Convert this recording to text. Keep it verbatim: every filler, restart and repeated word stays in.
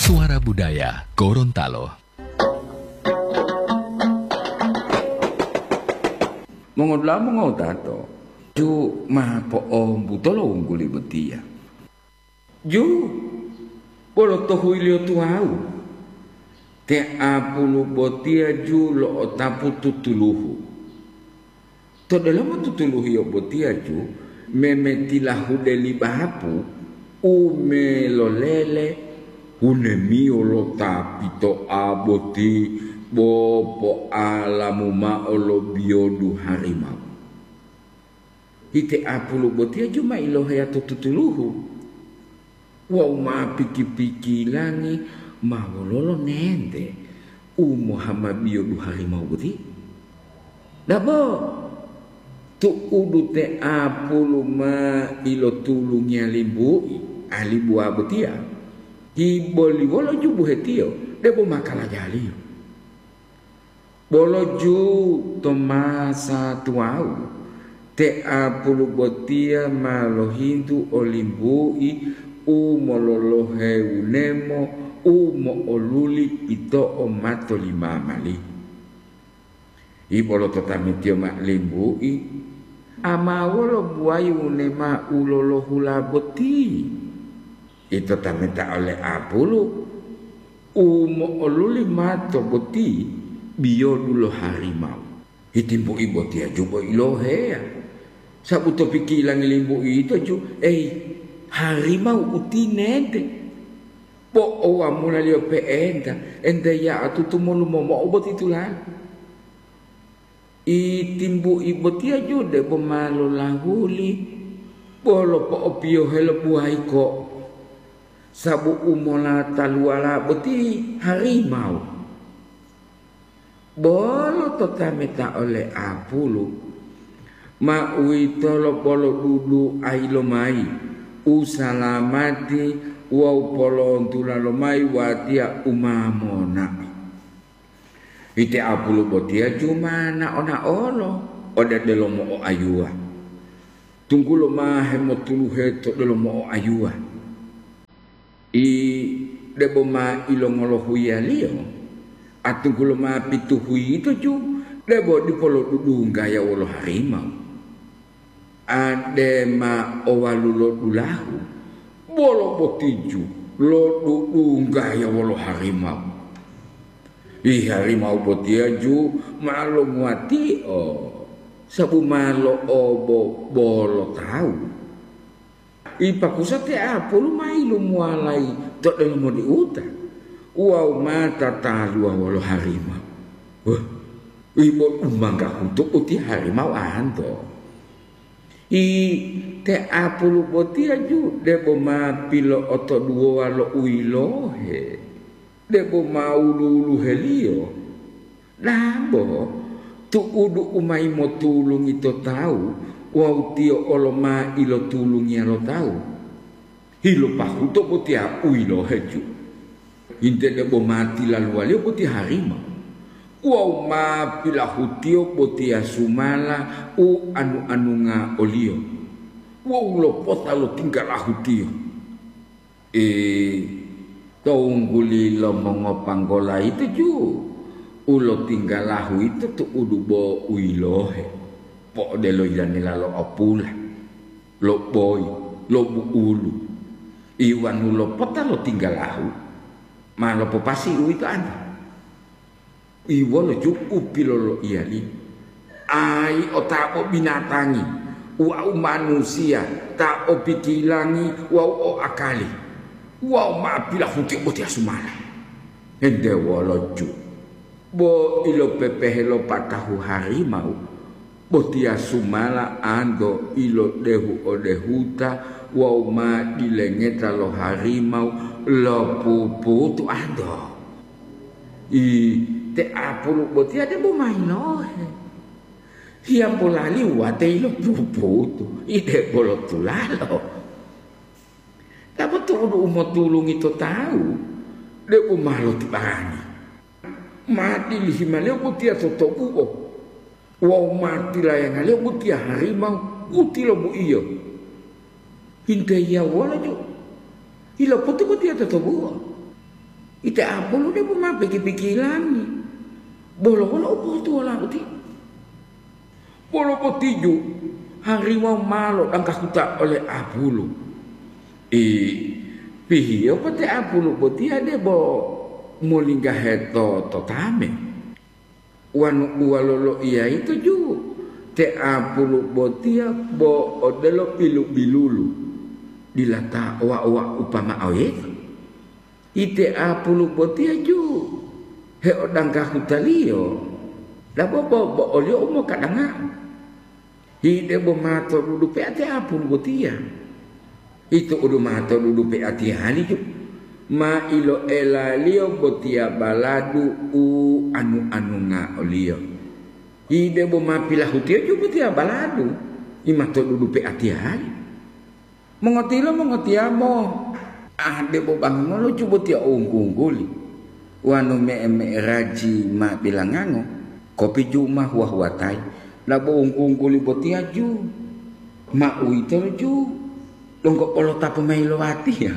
Suara Budaya Gorontalo. Mongodula'a mongotato, ju ma po'ombuto lo wungguli botiya. Ju, bolo to huiliyo tuwawu, te apulu botiya ju lo'otapu tutuluhu. To delomo tutuluhiyo botiya ju memetilahude li bahapu u melolele hunemiyo lo ta pito'a boti bo po'alamu mao lo biyodu harimau. Ite apulu botiya ju ma iloheya to tutuluhu. Wawu ma piki-pikilangi ma wololo nente u mohama biyodu harimau boti? Dabo, tu'udu te apulu ma ilotulungiya limbu'i alibuwa botiya, hiboliwolo ju buhetiyo debo ma kalajaliyo. Bolo ju to masa tuwawu, te apulu botiya ma lohintu olimbu'i u mololohe wunemo u mo'oluli pito'o mato li mamali. Ibolo to tametiyo ma limbu'i, ama wolo buwayi wunema u lolohula boti? Ito tameta ole apulu, u mo'oluli mato boti biyodu lo harimau. Hitimbu'i botiya ju bo iloheya, sabu to pikilangi limbu'i yito ju, ei, harimau utinete. Po'owamulaliyo pe'enta, ente ya'atutu molumomo'o boti tuladu. Itimbu'i botiya ju debo ma lolahuli, bolo po'opiyohe lo buwayi ko'o, sabu u molataluwala boti harimau. Bolo to tameta ole apulu, ma uwitolo poloduduayi lomayi, u salamati wawu polontula lomayi watiya u ma monao. Ite apulu botiya ju ma nao-naolo ode delomo oayuwa, tunggulo ma hemotuluhe to delomo oayuwa. I debo ma ilongolohuyaliyo, atunggulo ma pitu huyito ju debo dipo lodudunggaya wolo harimau. Ade ma owalulo dulahu, bolo boti ju lodudunggaya wolo harimau. Ih, harimau botiya ju ma longuwatio, sabu ma lo'obo-, bolo tawu. Ipakusa te apulu ma yilumuwalayi to delomo diuta wawu ma tataluwa wolo harimau. Wah, ibo umangga huto uti harimau anto. I te apulu botiya ju debo ma pilo'otoduwowa lo u yilohe, debo ma wulu-wuluheliyo. Dabo, tu'udu u ma yimotulungi to tawu wawu tiyo olo ma ilotulungiya lo tawu. Hilopahuto botiya u yilohe ju. Hinte debo ma tilaluwaliyo boti harimau wawu ma pilahutiyo botiya sumala u anu-anunga oliyo wawu lopota lo tinggalahutiyo. I to wungguli lo mongopanggola yito ju, u lotinggalahu yito tu'udu bo u yilohe, po'odelo yilanila lo apula, lo boyi, lo bu'ulu, iwanu lopota lo tinggalahu, ma lopopasi uwito anto. Iwolo ju u piloloiyaliyo? Ai o ta o binatangi, wawu manusiya ta o pikilangi wawu o akali, wawu ma pilahutiyo botiya sumala. Ente wolo ju, bo ilopepehe lo patahu harimau, botiya sumala anto ilodehu-odehuta wawu ma dilengeta lo harimau lopuputu anto. I te apulu botiya debo ma yilohe. Hiyambo lali wate ilopuputu, i debo lo tulalo. Dabo tu'udu u motulungi to tawu, debo ma lotibangi. Ma dilihimaliyo botiya to tobuo, wawu ma tilayangaliyo botiya harimau u tilobuiyo. Hinte yiyawolo ju? Iloputu botiya totobuo. Ite apulu debo ma piki-pikilangi. Bolo wolo u pohutuwola uti. Bolo botiju, harimau ma lodanggahuta ole apulu. I, pihiyo po te apulu botiya debo molinggahe to, to tame. Wanu uwa loloiya yito ju, te apulu botiya bo odelo pilu-bilulu, dila ta owa-owa upama oyito. Ite apulu botiya ju, heodanggahutaliyo, dabo bo, bo oliyo u mokadanga'u. Hide bo ma to dudu pe'ati apulu botiya. Ito udu ma to dudu pe'atiyali ju. Ma iloelaliyo botiya baladu u anu-anunga oliyo. Hide bo ma pilahutiyo ju botiya baladu, i ma to dudu pe'atiyali. Mongotilo mongotiyamo, ah, debo bangulo ju botiya o wunggu-wungguli. Wanu me'e-me'eraji ma bilangango, kopi ju ma huwa-huwatayi, labo wunggu-wungguli botiya ju ma uwitolo ju donggo polotapu mayi lo watiya.